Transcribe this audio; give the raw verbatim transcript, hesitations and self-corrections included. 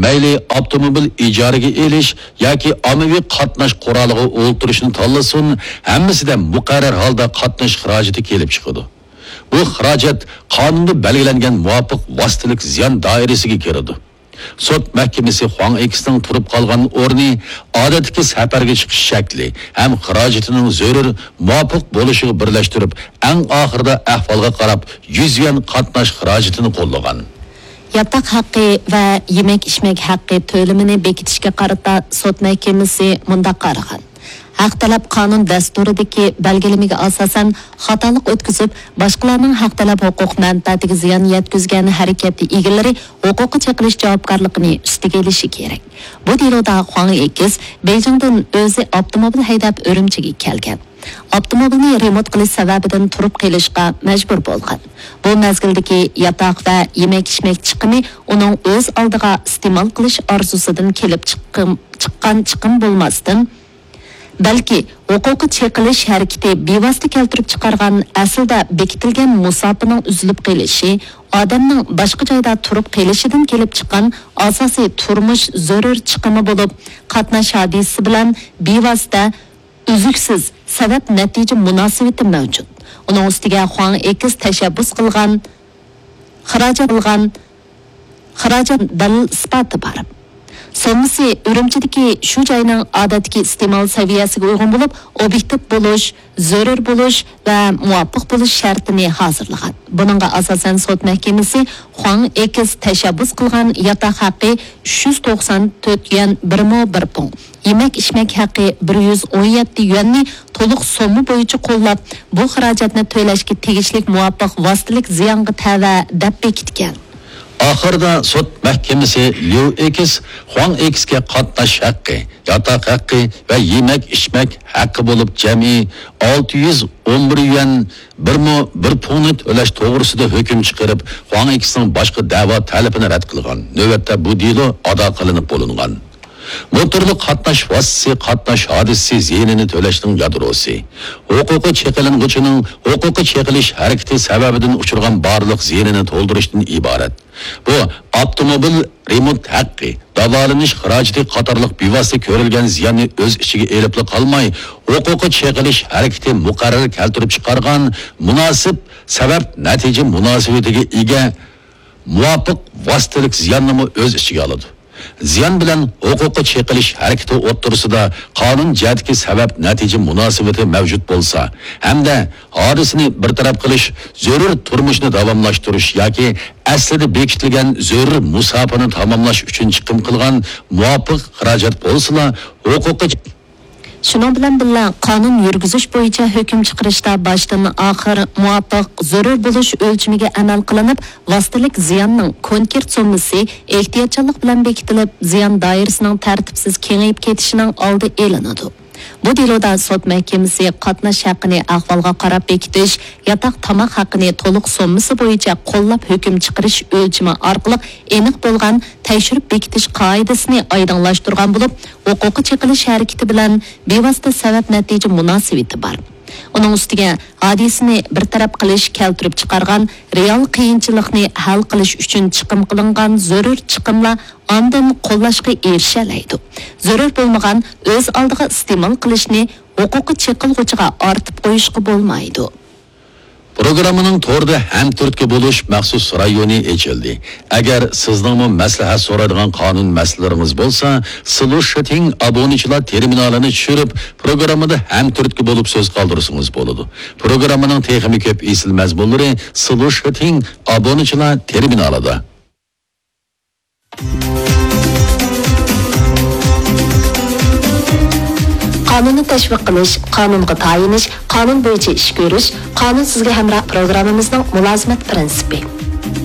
مەيلى ئاپتوموبىل ئىجارىگە ئېلىش ياكى ئاممىۋى قاتناش قورالىغا ئولتۇرۇشنى تاللىسۇن، ھەممىسىدە مۇقەررەر ھالدا قاتناش خىراجىتى كېلىپ چىقىدۇ. بۇ خىراجەت قانۇندا بەلگىلەنگەن مۇۋاپىق ۋاسىتىلىك زىيان دائىرىسىگە كىرىدۇ. سوت مەھكىمىسى خۇاڭ ئېكسنىڭ تۇرۇپ قالغان ئورنى، ئادەتتىكى سەپەرگە چىقىش شەكلى ھەم خىراجىتىنىڭ زۆرۈر مۇۋاپىق بولۇشىغا بىرلەشتۈرۈپ، ئەڭ ئاخىرىدا ئەھۋالغا قاراپ يۈز يۈەن قاتناش خىراجىتىنى قوللىغان. ياتاق ھەققى ۋە يېمەك-ئىچمەك ھەققى تۆلىمىنى بېكىتىشكە قارىتا سوت مەھكىمىسى مۇنداق قارىغان: ھەق تەلەپ قانۇن دەستۇرىدىكى بەلگىلىمىگە ئاساسەن خاتالىق ئۆتكۈزۈپ، باشقىلارنىڭ ھەق تەلەپ ھوقۇق مەنپەئەتىگە زىيان يەتكۈزگەن ھەرىكەت ئىگىلىرى ھوقۇققا چېقىلىش جاۋابكارلىقىنى ئۈستىگە ئېلىشى كېرەك. بۇ دېلودا خۇاڭ ئېكس بېيجىڭدىن ئۆزى ئاپتوموبىل ھەيدەپ ئۈرۈمچىگە كەلگەن. ئاپتوموبىلنى رېمونت قىلىش سەۋەبىدىن تۇرۇپ قېلىشقا مەجبۇر بولغان. بۇ مەزگىلدىكى ياتاق ۋە يېمەك-ئىچمەك چىقىمى ئۇنىڭ ئۆز ئالدىغا ئىستېمال قىلىش ئارزۇسىدىن كېلىپ چىققىم-، چىققان چىقىم بولماستىن، بەلكى ھوقۇققا چېقىلىش ھەرىكىتى بىۋاسىتە كەلتۈرۈپ چىقارغان ئەسلىدە بېكىتىلگەن مۇساپىنىڭ ئۈزۈلۈپ قېلىشى، ئادەمنىڭ باشقا جايدا تۇرۇپ قېلىشىدىن كېلىپ چىققان ئاساسىي تۇرمۇش زۆرۈر چىقىمى بولۇپ، قاتناش ھادىسىسى بىلەن بىۋاسىتە ئۈزۈكسىز سەۋەب نەتىجە مۇناسىۋىتى مەۋجۇت. ئۇنىڭ ئۈستىگە خۇاڭ ئېكس تەشەببۇس قىلغان، خىراجەت قىلغان، خىراجەت دەلىل ئىسپاتى بار. سوممىسى ئۈرۈمچىدىكى شۇ جاينىڭ ئادەتتىكى ئىستېمال سەۋىيەسىگە ئۇيغۇن بولۇپ، ئوبيېكتىپ بولۇش، زۆرۈر بولۇش ۋە مۇۋاپىق بولۇش شەرتىنى ھازىرلىغان. بۇنىڭغا ئاساسەن سوت مەھكىمىسى خۇاڭ ئېكس تەشەببۇس قىلغان ياتاق ھەققى ئۈچ يۈز توقسان تۆت يۈەن بىر مو بىر پۇڭ، يېمەك-ئىچمەك ھەققى بىر يۈز ئون يەتتە يۈەننى تولۇق سومما بويىچە قوللاپ، بۇ خىراجەتنى تۆلەشكە تېگىشلىك مۇۋاپىق ۋاسىتىلىك زىيانغا تەۋە دەپ بېكىتكەن. ئاخىرىدا سوت مەھكىمىسى ليۇ ئېكس خۇاڭ ئېكسكە قاتناش ھەققى، ياتاق ھەققى ۋە يېمەك-ئىچمەك ھەققى بولۇپ جەمئىي ئالتە يۈز ئون بىر يۈەن بىر مو بىر پۇڭنى تۆلەش توغرىسىدا ھۆكۈم چىقىرىپ، خۇاڭ ئېكسنىڭ باشقا دەۋا تەلىپىنى رەت قىلغان. نۆۋەتتە بۇ دېلو ئادا قىلىنىپ بولۇنغان. موتورلۇق قاتناش ۋاسىتىسى قاتناش ھادىسىسى زىيىنىنى تۆلەشنىڭ يادروسى، ھوقۇقى چېقىلىنغۇچىنىڭ ھوقۇقى چېقىلىش ھەرىكىتى سەۋەبىدىن ئۇچرىغان بارلىق زىيىنىنى تولدۇرۇشتىن ئىبارەت. بۇ ئاپتوموبىل رېمونت ھەققى، داۋالىنىش خىراجىتى قاتارلىق بىۋاسىتە كۆرۈلگەن زىياننى ئۆز ئىچىگە ئېلىپلا قالماي، ھوقۇقى چېقىلىش ھەرىكىتى مۇقەررەر كەلتۈرۈپ چىقارغان مۇناسىپ سەۋەب نەتىجە مۇناسىۋىتىگە ئىگە مۇۋاپىق ۋاسىتىلىك زىياننىمۇ ئۆز ئىچىگە ئالىدۇ. زىيان بىلەن ھوقۇققا چېقىلىش ھەرىكىتى ئوتتۇرىسىدا قانۇن جەھەتتىكى سەۋەب نەتىجە مۇناسىۋىتى مەۋجۇت بولسا ھەمدە ھادىسىنى بىر تەرەپ قىلىش، زۆرۈر تۇرمۇشنى داۋاملاشتۇرۇش ياكى ئەسلىدە بېكىتىلگەن زۆرۈر مۇساپىنى تاماملاش ئۈچۈن چىقىم قىلغان مۇۋاپىق خىراجەت بولسىلا، ھوقۇققا شۇنىڭ بىلەن بىللە، قانۇن يۈرگۈزۈش بويىچە ھۆكۈم چىقىرىشتا باشتىن ئاخىر مۇۋاپىق زۆرۈر بولۇش ئۆلچىمىگە ئەمەل قىلىنىپ، ۋاسىتىلىك زىياننىڭ كونكرېت سوممىسى ئېھتىياتچانلىق بىلەن بېكىتىلىپ، زىيان دائىرىسىنىڭ تەرتىپسىز كېڭىيىپ كېتىشىنىڭ ئالدى ئېلىنىدۇ. بۇ دېلودا سوت مەھكىمىسى قاتناش ھەققىنى ئەھۋالغا قاراپ بېكىتىش، ياتاق تاماق ھەققىنى تولۇق سوممىسى بويىچە قوللاپ ھۆكۈم چىقىرىش ئۆلچىمى ئارقىلىق ئېنىق بولغان تەكشۈرۈپ بېكىتىش قائىدىسىنى ئايدىڭلاشتۇرغان بولۇپ، ھوقۇققا چېقىلىش ھەرىكىتى بىلەن بىۋاسىتە سەۋەب نەتىجە مۇناسىۋىتى بار. ئۇنىڭ ئۈستىگە، ھادىسىنى بىر تەرەپ قىلىش كەلتۈرۈپ چىقارغان رېئال قىيىنچىلىقنى ھەل قىلىش ئۈچۈن چىقىم قىلىنغان زۆرۈر چىقىملار ئاندىن قوللاشقا ئېرىشەلەيدۇ. زۆرۈر بولمىغان ئۆز ئالدىغا ئىستېمال قىلىشنى ھوقۇققا چېقىلغۇچىغا ئارتىپ قويۇشقا بولمايدۇ. پروگراممىنىڭ توردا ھەمتۈرتكە بولۇش مەخسۇس رايونى ئېچىلدى. ئەگەر سىزنىڭمۇ مەسلىھەت سورايدىغان قانۇن مەسىلىلىرىڭىز بولسا، سلۇشىتىڭ ئابۇنىچىلار تېرمىنالىنى چۈشۈرۈپ، پروگراممىدا ھەمتۈرتكە بولۇپ سۆز قالدۇرسىڭىز بولىدۇ. پروگراممىنىڭ تېخىمۇ كۆپ ئېسىل مەزمۇنلىرى سلۇشىتىڭ ئابۇنىچىلار تېرمىنالىدا. قانۇننى تەشۋىق قىلىش، قانۇنغا تايىنىش، قانۇن بويىچە ئىش كۆرۈش، قانۇن سىزگە ھەمراھ پروگراممىمىزنىڭ مۇلازىمەت پىرىنسىپى.